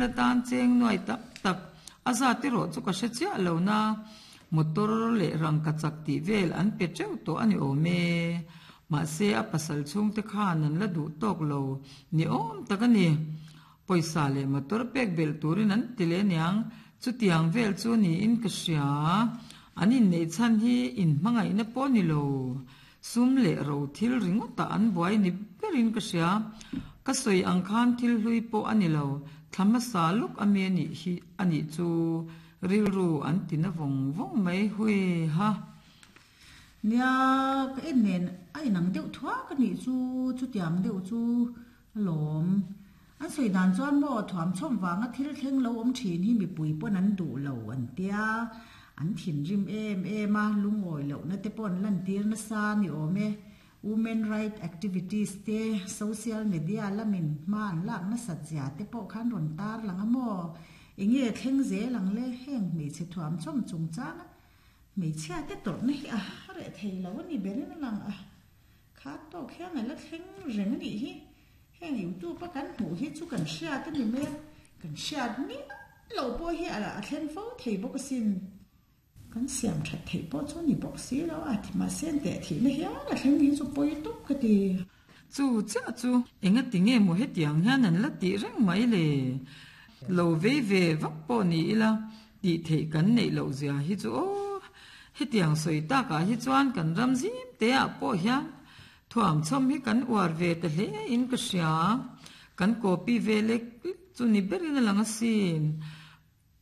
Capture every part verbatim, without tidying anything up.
Atan cheng nuai tak tak a zat erawh chu ka hre chiah lo na, motor leh rangkachak tih vel an pe teuh tawh a ni awm e. Mahse a pasal chhungte khan an la duh tawk lo ni awm tak a ni. Pawisa leh motor pek belh turin an ti leh aniang, chutiang vel chu niin ka hria. An inneih chhan hi inhmangaihna pawh ni lo, sum leh ro thil ringawtah an buai ni berin ka hria. Ka sawi ang khan thil hlui pawh a ni lo, thla hmasa lawk a mi a nih hi a nih chu rilru an ti na vawng vawng mai hui ha. Nia, ka en nen a inang deuh thuak a nih chu, chutiang deuh chu alawm. An sawi dan chuan maw thuamchhawm vanga thil thleng lo awm thin hi mipui pawn an duh lo an tia, an thinrim em em a, lungawi lohna te pawh an lantir nasa a ni awm e. Women right activities te, social media lamin hma an lak nasat zia te pawh khan rawn tar lang a maw? Enge thleng zel ang le? Heng hmeichhe thuamchhawm chungchanga hmeichhia te tawrhna hi a reh thei lo a ni berin a lang a, kha tawk hian a la thleng reng a nih hi. Heng YouTube a kan hmuh hi chu kan hriat a ni mai a, kan hriat miah loh pawh hi a thleng fo thei bawk asin. Kan siam that theih pawh chu ni bawk si lo a, mahse teh thihna hian a thleng hi chu pawi tawp ka ti. Chu chiah chu engati nge maw hetiang hian an la tih reng mai le? Lo vei ve vak pawh ni ila tih theih kan neih loh zia hi chu aw. Hetiang sawi takah hi chuan kan ram zim te ah pawh hian thuamchhawm hi kan uar ve ta hle in ka hria. Kan copy ve lek lek chu ni berin a lang asin.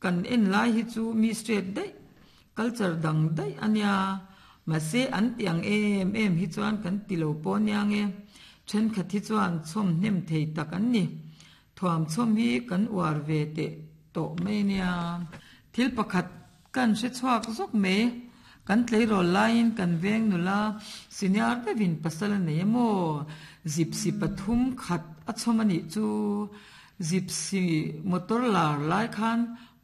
Kan en lai hi chu mi straight daih, culture dang daih a nia. Mahse an ti ang em em hi chuan kan ti lo pawh nia nge. Thenkhat hi chuan chhawm hnem thei tak an ni. Thuamchhawm hi kan uar ve teh tawh mai nia. Thil pakhat kan hre chhuak zawk mai. Kan tleirawl laiin kan veng nula senior deuhin pasal a nei emaw? Zipsi pathum khat a chhawm a nih chu. Zipsi motor lar lai khan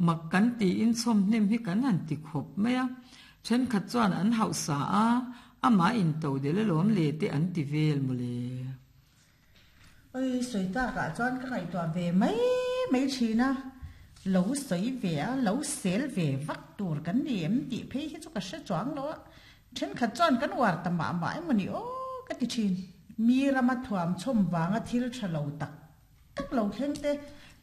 mak kan tiin chhawm hnem hi kan han ti khawp mai a. Thenkhat chuan an hauhsa a, amah into del alawm le te an ti vel mawle. Oi, sawi takah chuan ka ngaihtuah ve mai mai thin a, lo sawi ve a, lo sel ve vak tur kan ni em tih phei hi chu ka hre chuang lo a, thenkhat chuan kan uar ta mah mah emaw ni aw ka ti thin. Mi rama thuam chhawm vanga thil tha lo tak tak lo thleng te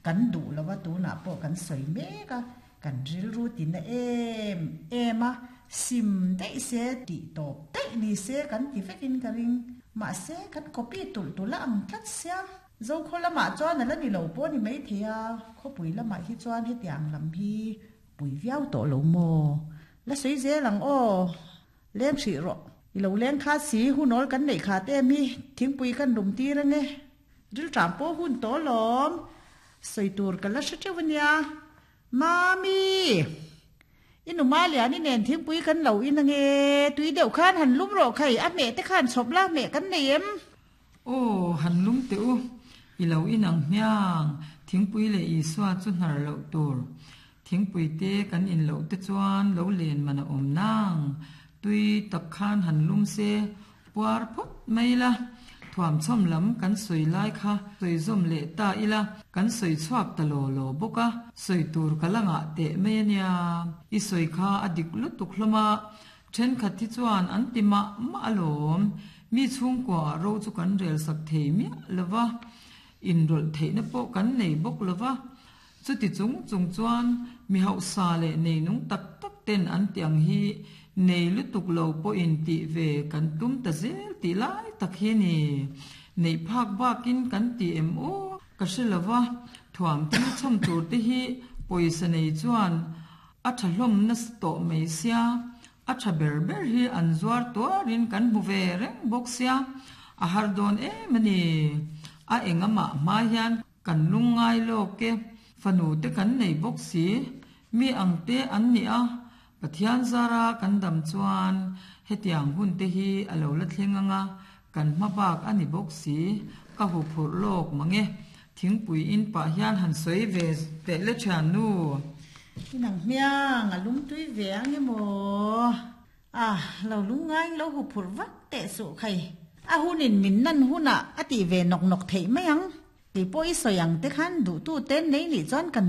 kan duh lo a, tunah pawh kan sawi mek a, kan rilru tina em em a, sim daih se tih tawp daih ni se kan ti vekin ka ring. Mahse, kan copy tulh tulh a ang tlat sia. Zokhaw lamah chuan a la ni lo pawh a ni maithei a, khawpui lamah hi chuan hetiang lam hi pui viau tawh lo maw? La sawi zel ang aw, leng hrih rawh. I lo leng kha si, hunawl kan neih khat em hi, thingpui kan lum tir ange. Rilṭam pawh hun tawh alawm, sawi tur ka la hre teuh a nia. Mami! I nu Maliani nen thingpui kan lo in ange, tui deuh khan han lum rawh khai, a hmeh te khan chhawp la, hmeh kan nei em? Aw, han lum teh u, i lo in ang hmiang, thingpui leh Isua chu hnar loh tur. Thingpui te kan in loh te chuan lo len man a awm nang, tui tak khan han lum se, Puar phawt mai la, thuamchhawm lam kan sawi lai kha sawi zawm leh ta ila, kan sawi chhuak ta law law bawk a, sawi tur ka la ngah teh mai a nia. I sawi kha a dik lutuk hlawm a, thenkhat hi chuan an ti mah mah alawm, mi chhungkua ah ro chu kan rel sak thei miah lo va, inrawlh theihna pawh kan nei bawk lo va, Chuti chung chung chuan mi hausa leh neinung tak tak ten an ti ang hi nei lutuk lo pawhin tih ve kan tum ta zel tih lai tak hi a ni. Neih phak bakin kan ti em aw? Ka hre lo va, thuam thil chhawm tur te hi pawisa nei chuan a tha hlawm nasa tawh mai sia, a tha ber ber hi an zuar tuarin kan hmu ve reng bawk sia, a har dawn em a ni. A engamah hma hian Kan lungngai lawk e, fanu te kan nei bawk si, mi ang te an ni a, Pathian zara kan dam chuan hetiang hun te hi a lo la thleng ang a, kan hma bak a ni bawk si, ka huphurh lawk mang e, thingpui in pah hian han sawi ve teh le thiannu. I nang hmiang a lungtui ve ang emaw? A, lo lungngain lo huphurh vak teh suh khai. A hunin min nan hunah a tih ve nawk nawk theih mai ang. Kei pawh i sawi ang te khan duhtu te nei nih chuan kan